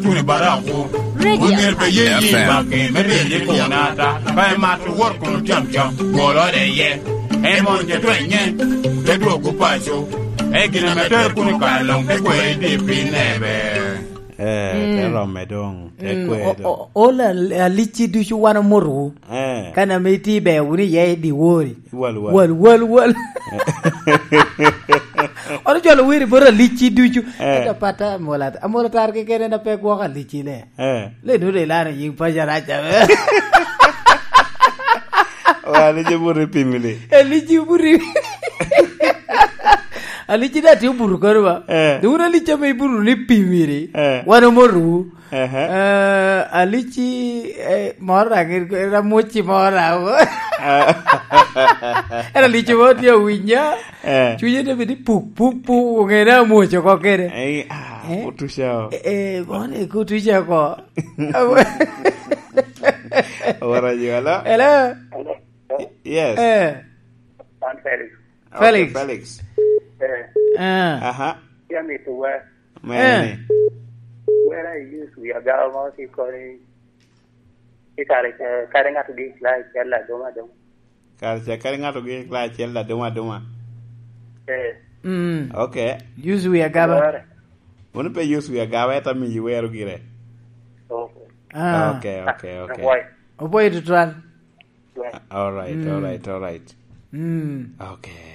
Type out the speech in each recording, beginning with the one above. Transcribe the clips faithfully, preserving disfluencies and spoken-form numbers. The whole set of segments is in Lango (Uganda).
Tuni Baraku. Radio. Wun myero pe ye yi F M. Baki, me rye ye kunata. Ka emato wot kun otyam cam, gwolore ye. Emon je twenye, te dwogo paco. E gin ame tere kun i kare luŋ, te kwe i di pi nebe. Eh, te Mm. romme doŋ, te Mm, kwe o-, doŋ. O-, ol al-, alicci ducu wan omotowu. Eh. Kan ame itye i beo wunu iye i dyewor-ri. Wal, wal. Wal, wal, wal. Wan ocwalo wer i bot alicci ducu. Eh. Ento pata amol at-, amol atar keken en a pe gwoko alicci ne. Eh. Le nu de lano yin paco arac ame. Wa, alicci buri pimili. Alicci buri. Alicci da tye oburu kono ba. Eh. Dun alicci ame iburu ni pimiri. Eh. Wan omotowu. Ehe. Eh, alicci, eh, moro na, gin, gin, ramuci moro na. Eh. En alicci moro tye awinya. Eh. Cunye te bedi puk, puk, puk, ong'e ni amuoc oko kede. Eh, ah, Eh? Kutuca o. Eh, eh, moro ni kutuca oko. Owara ji, hello? Hello? Hello? Yes. Eh. An Felix. Okay, Felix. Felix. Eh. Ah. Aha. Yam ito wa. Mene. Eh. Wera i use wi agawa mo ki koni. I kare, eh, kare ŋato gi la cel aduma aduma. Kare ca kare ŋato gi la cel aduma aduma. Eh. Mm. Okay. Use wi agawa. Were. Wun pe use wi agawa, ento amiyi wero gire. Okay. Ah. Okay, okay, okay. Opwoyo. Opwoyo tutwal. All right, Mm. all right, all right. Mm. Okay.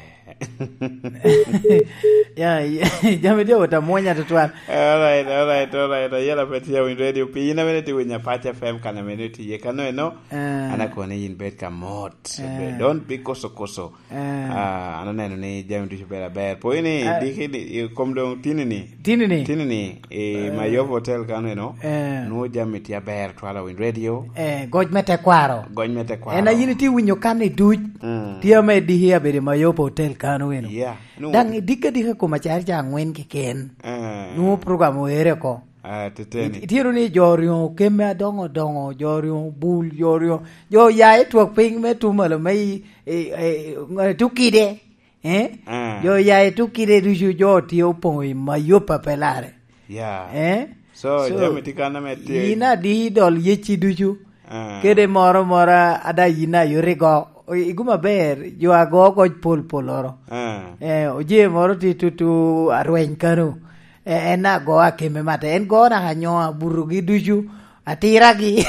Ya, ya, jami tye ota mwonya tutwal. All right, all right, all right. Ayela pe tye winyo radio. Pi in amene tye winyo Apac F M kan amene tye kano eno. Ah. Ana koni yin bed ka mot. Ah. Don't be koso koso. Ah. Ah, an aneno ni jami ducu bedo aber. Po ini Ah. diki ni, i kom doŋ tini ni. Tini ni? Tini ni, i Eh. Mayopo Hotel kano eno, Eh. nwo jami tye aber twala winy radio. Eh, goc me tekwaro. Goc me tekwaro. En a yin itye winyo kan i duc. Mm. Tye ame diki abedo i Mayopo Hotel kano eno. Yeah. Nwo Daŋ idikka dika kom acari ca angwen keken. Eh. Nwo program oere oko. Ah, teteni. It-, itye ni jo oryo kemme adoŋo doŋo, jo oryo bul, jo oryo, jo oya i twak piny me tum malo me i, i, i, i, tukide. Eh? Ah. Jo oya i tukide ducu, jo tye opoŋo i Mayopa pe lare. Yeah. Eh? So, So, jami tye kan ame tye. In adi dol yecci ducu? Ah. Kede moro moro ada yin a yot igo. I, i gum aber, jo ago goc pol pol oro. Ah. Eh, oje moro tye tutu arweny kano. Eh, en ago akeme mata. En go naka nyo aburogi ducu, atiragi.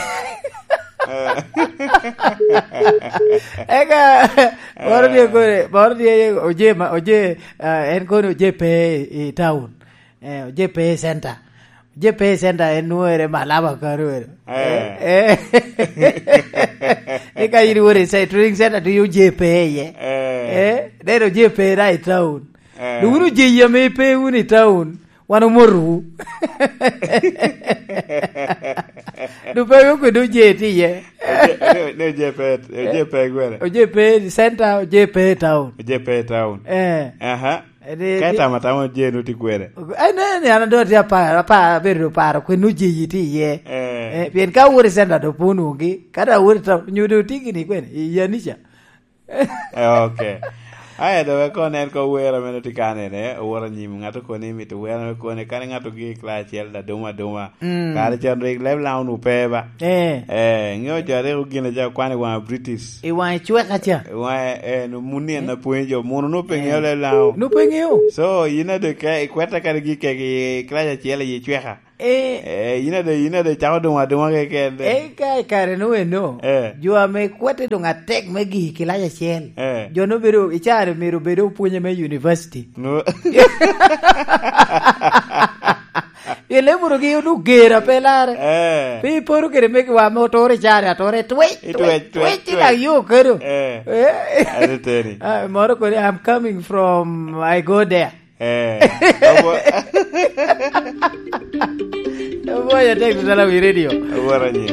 Eh. Eka, moro tye Eh. kore, moro tye oje ma, oje, ah, en kono oje pe i, i town. Eh, oje pe i center. Oje pe i center en nwere Malaba kano eno. Eh. Eh, eh. Ni ka in iwoto i ce-, training center to oje pe iye. Eh. Eh, neno oje pe na i town. Eh. Dok wun oje ame pe wun i town, wan omotowu. Dok pe wun kwede oje tye iye. Oje, ne, ne oje pe, oje pe gwere. Oje pe i center, oje pe i town. Oje pe i town. Eh. Aha. Ede, Ka di- itamo atama oje nu ti kwene? Ai, ne, ne, an adwa ti apar, apar, abedo paro kwen oje yi ti iye. Eh. Eh, pien ka wori center do pun wongi, ka da wori to, nyo do tiki ni kwen, i yanica. Eh, ok. Aye, do wek kono en ko wero meno ti kane ne, oworo anyim, ŋato koni mito wero me kone, kane ŋato gi i class acel da duma duma. Mm. Kare con rik leb Laŋo nu pe ba. Eh. Eh, ŋeo jo rik ogin aja kwan i waŋa British. I waŋe cweka ca. I waŋe, eh, no, mun ni en apwonyo jo, mono nu pe ŋeo leb Laŋo. Nu pe ŋeo. So, yin ade ke, ikwete kadi gi kek i class acel i cweka. Eh. Eh, yin ade, yin ade cako duma duma keken de. Eh, ka i kare nu eno. Eh. Jo ame kwete doŋ atek me gi i class acel. Eh. Jo nu bedo, i caro myero bedo opwonye me university. No. Pien leb mono gi onwoŋo ger a pe larre. Eh. Pe iporo kede megiwa ame otoro i caro atora, itwec, itwec, twec, twec, twec, twec, i lak yo kado. Eh. Eh. Ate teni. Ah, moro kodi, "I'm coming from, I go there." Eh. Obo-, Oboyo tek tutwal wi radio. Obo ranyi.